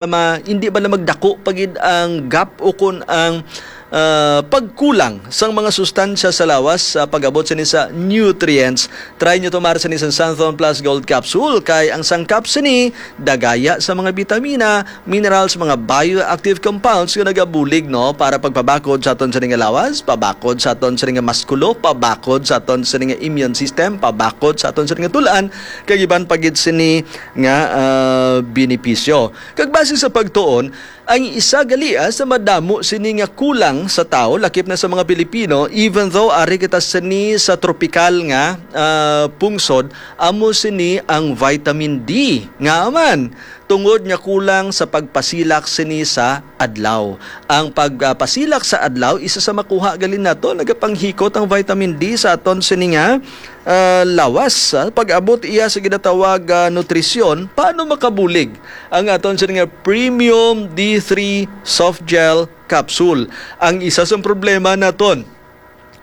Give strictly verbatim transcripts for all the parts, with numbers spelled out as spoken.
ma-, hindi ba na magdako pa gid ang gap o kun ang, ah, pagkulang sang mga sustansya sa lawas sa pag-abot sini sa nutrients. Try nyo to, mare, sini sa Santhon Plus Gold Capsule, kay ang sangkap sini dagaya sa mga bitamina, minerals, mga bioactive compounds nga nagabulig, no, para pagpabakod sa aton sini nga lawas, pabakod sa aton sini nga maskulo, pabakod sa aton sini nga immune system, pabakod sa aton sini nga tulan, kag iban pa gid sini nga, ah, benepisyo. Kag base sa pagtuon, ang isa gali, ah, sa madamo sini nga kulang sa tawo, lakip na sa mga Pilipino, even though ari kita sini sa tropikal nga, ah, pungsod, amo sini ang vitamin D. Nga man, tungod nga kulang sa pagpasilak sini sa adlaw. Ang pagpasilak sa adlaw, isa sa makuha gali nato, nagapanghikot ang vitamin D sa aton sini nga, ah, lawas. Ah, pag-abot iya sa ginatawag, ah, nutrisyon, paano makabulig ang aton sini nga premium D three soft gel capsule? Ang isa sa problema naton,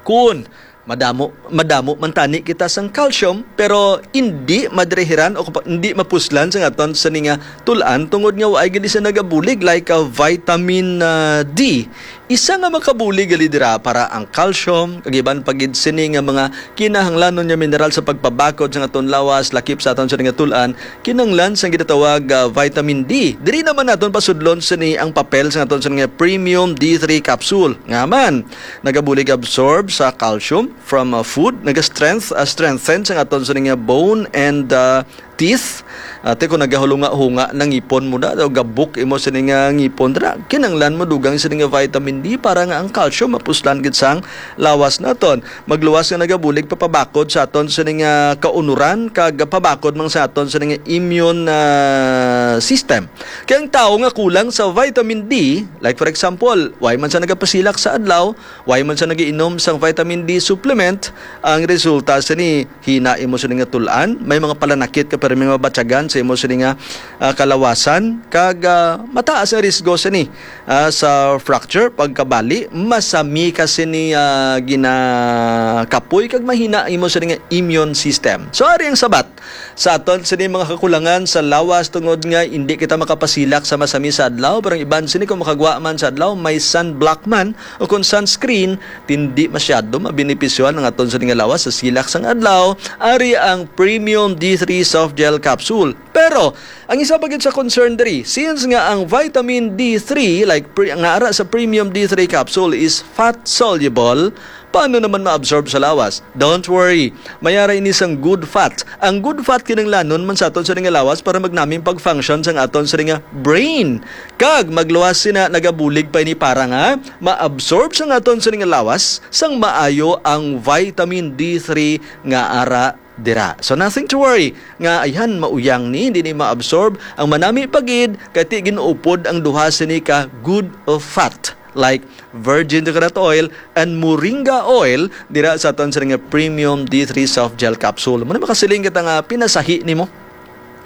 kun madamo, madamo man tani kita sang calcium, pero hindi madirihiran o kapa-, hindi mapuslan sang aton sini nga tul-an tungod nga waay gid siya nagabulig like, ah, vitamin, ah, D. Isa nga makabulig gali dira para ang calcium, kag iban pa gid sini nga mga kinahanglanon nga mineral sa pagpabakod sang aton lawas, lakip sa aton sini nga tul-an, kinahanglan sang ginatawag, ah, vitamin D. Diri naman naton pasudlon sini ang papel sang aton sini nga premium D three capsule. Nga man, nagabulig absorb sa calcium from, uh, food, naga-strength, uh, strengthen sang aton sini nga bone and, uh, teeth. Ate, kung nagahulunga-hunga na ngipon mo na, o gabok imo sini nga ngipon, dira, kinanglan mo dugang sini nga vitamin D para nga ang calcium mapuslan gid sang lawas naton. Magluwas nga nagabulig papabakod sa aton sini nga kaunuran, kag pabakod man sa aton sini nga immune, uh, system. Kay ang tawo nga kulang sa vitamin D, like for example, why man siya nagapasilak sa adlaw, why man siya nagiinom sang vitamin D supplement, ang resulta sini, hina imo sini nga tul-an, may mga palanakit ka, pero may mga batyagan sa imo sini nga, ah, kalawasan, kag, ah, mataas ang risgo sini, ah, sa fracture, pagkabali, masami ka sini, ah, ginakapoy, kag mahina imo sini nga immune system. So, ari ang sabat sa aton sini mga kakulangan sa lawas tungod nga indi kita makapasilak sa masami sa adlaw, pero ang iban sini kung makagwa man sa adlaw, may sunblock man o kung sunscreen, hindi masyado mabenepisyohan ang aton sini nga lawas sa silak sang adlaw. Ari ang Premium D three Soft Gel Capsule. Pero ang isa pa gid sa concern diri, since nga ang vitamin D three, like pre-, nga ara sa Premium D three Capsule is fat soluble, paano naman ma-absorb sa lawas? Don't worry, may ara ini sang good fat. Ang good fat kinahanglanon man sa aton sini nga lawas para magnaming pag-function sang aton sini nga brain. Kag magluwas sina, nagabulig pa ini para nga ma-absorb sang aton sini nga lawas sang maayo ang vitamin D three nga ara dira. So, nothing to worry nga ayhan mauyang ni, hindi ni ma-absorb. Ang manami pa gid kay ti gin-upod ang duha sini ka good fat, like virgin coconut oil and moringa oil, dira sa aton sini nga premium D three soft gel capsule. Muna makasiling kita nga pinasahi nimo.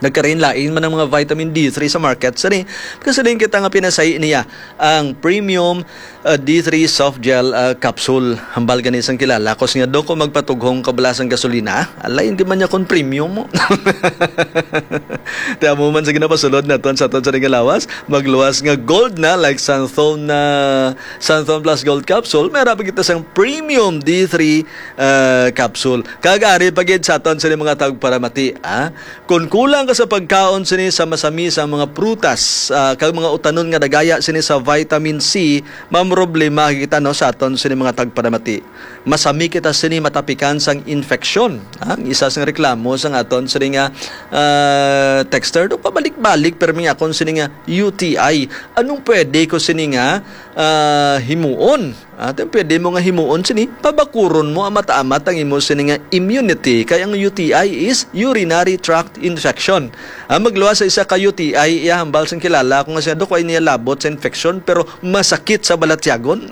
Nagkarain-lain man ang mga vitamin D three sa market. Sani, makasiling kita nga pinasahi niya ang premium, uh, D three soft gel, uh, capsule. Hambal gani sang kilala ko, siya, "Dok, kung magpatughong ka bala sang gasolina, alay, hindi man niya kon premium mo." Ti amo man sa ginapasulod naton sa aton sa nga lawas, magluwas nga gold na, like Santhon na, Santhon Plus Gold Capsule, may harapan kita sang premium D three, uh, capsule. Kag ari pa gid sa aton sa mga tagparamati, ah. Kon kulang ka sa pagkaon sini sa masami sa mga prutas, ah, kag mga utanon nga dagaya sini sa vitamin C, mamroblema kita, no, sa aton sini mga tagparamati. Masami kita sini matapikan sang infeksyon. Ah, ang isa sang reklamo sang aton sini nga, ah, texter, do pabalik-balik, pero may akon sini nga U T I. Anong pwede ko sini nga, ah, himuon? Atin, pwede mo nga himuon sini, pabakuron mo amat-amat ang imo sini nga immunity, kay ang U T I is urinary tract infection. Ah, magluwas sa isa ka U T I, iya hambal sang kilala ko nga siya, "Dok, way niya labot sa infection, pero masakit sa balatyagon."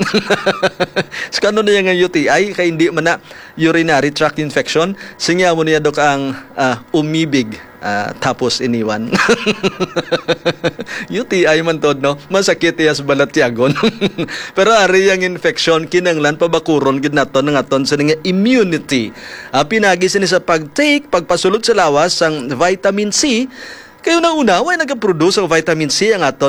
So, kano niya nga U T I, kay hindi man na urinary tract infection, singya mo niya, Dok, ang, ah, umibig. Ah, tapos iniwan. U T I man tod, no? Masakit iya sa balatyagon. Pero ari ang infection, kinanglan pabakuron gid naton ang aton sini nga immunity. Ah, pinagi sini sa pag-take, pagpasulod sa lawas sang vitamin C, Kay una-una, way nagaproduce ang vitamin C ang aton